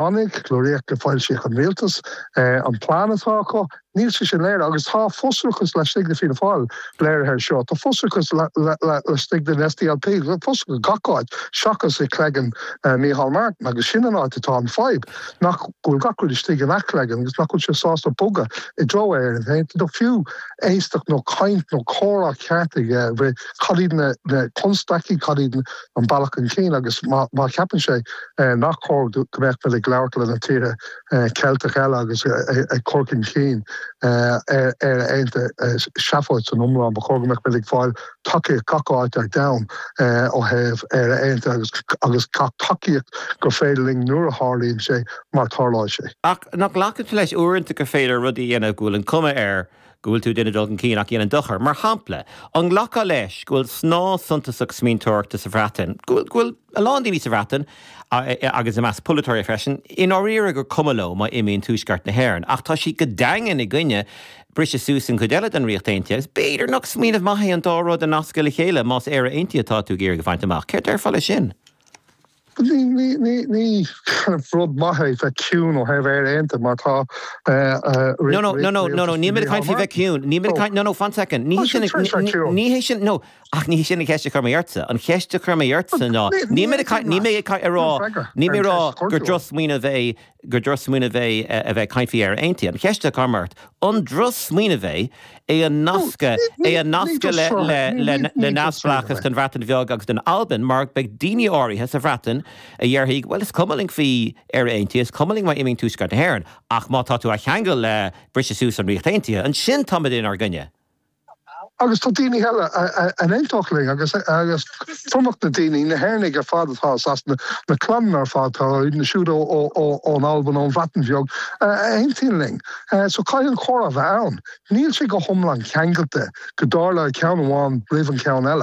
Tháinig, léiríodh i foilsíodh an rialtas an plean atá acu. Níl sé sin léirithe agus tá frustrachas laistigh de Fianna Fáil léirithe air seo. Tá frustrachas laistigh den SDLP, frustrachas gach áit seachas i gcloigeann Micheál Martin agus sin an áit atá an fadhb, nach go bhfuil gach rud istigh ina chloigeann agus nach bhfuil sé sásta bogadh i dtreo Éire Aontaithe nó fiú éisteacht nó caint nó comhrá ceart aige faoi cad iad na constaicí, cad iad an bealach chun cinn agus má cheapann sé nach cóir go mbeadh muid ag labhairt le na tíortha Ceilteach eile agus ag cur chun cinn Éire Aontaithe seafóid san iomlán. Ba chóir go mbeadh muid ag fáil tacaíocht gach áit ar domhan ó thaobh Éire Aontaithe agus agus gach tacaíocht gur féidir linn nuair a tharlaíonn sé mar tarlóidh sé. Ach nach nglacann tú leis uaireanta gur féidir rudaí a dhéanamh go bhfuil an cuma air go bhfuil tú ag déanamh dul chun cinn ach a dhéanann dochar. Mar shampla, an nglacfá leis go bhfuil snáth suntasach smaointeoireachta sa Bhreatain, go bhfuil a lán daoine sa Bhreatain, agus i measc polaiteoirí freisin, i ndáiríre gur cuma leo má imíonn Tuaisceart na hÉireann, ach tá siad go daingean i gcoinne briseadh suas an chuid eile den Ríocht Aontaithe, agus b'fhéidir nach smaoineamh maith é an dá rud a nascadh le chéile más Éire Aontaithe atá tú ag iarraidh a bhaint amach. Céard déarfá leis sin? Ní ní rud maith é bheith ciúin ó thaobh Éire Aontaithe mar tá No, no, no, no, no, no, níl mé ag caint faoi bheith ciúin. Níl mé ag caint, no, no, fan second. Ní hé sin, ní hé sin, no, ach ní hé sin an cheist a chuir mé ortsa. An cheist a chuir mé ortsa ná, níl mé ag caint, níl mé ag caint, ag rá, níl mé ag rá gur drochsmaoineamh é, gur drochsmaoineamh é a bheith ag caint faoi Éire Aontaithe. An cheist a chuir mé ort, an drochsmaoineamh é é a nascadh, é a nascadh le, le, le, le neamhspleáchas don Bhreatain Bheag agus don Albain mar beidh daoine áirithe sa Bhreatain a dhéarfaidh, bhuel is cuma linn faoi Éire Aontaithe, is cuma linn má imíonn Tuaisceart na hÉireann, ach má tá tú á cheangal le briseadh suas an Ríocht Aontaithe, ansin táimid inár gcoinne. Agus tá daoine eile a n-aontódh linn agus agus tromlach na daoine, na hÉireannaigh ar fad atá i Sasana, na clanna ar fad atá na siúd ón Albain, ón Bhreatain Bheag, a aontaíonn linn. So caithfidh an comhrá a bheith ann. Níl sé go hiomlán ceangailte go dtarlóidh ceann amháin roimh an cheann eile.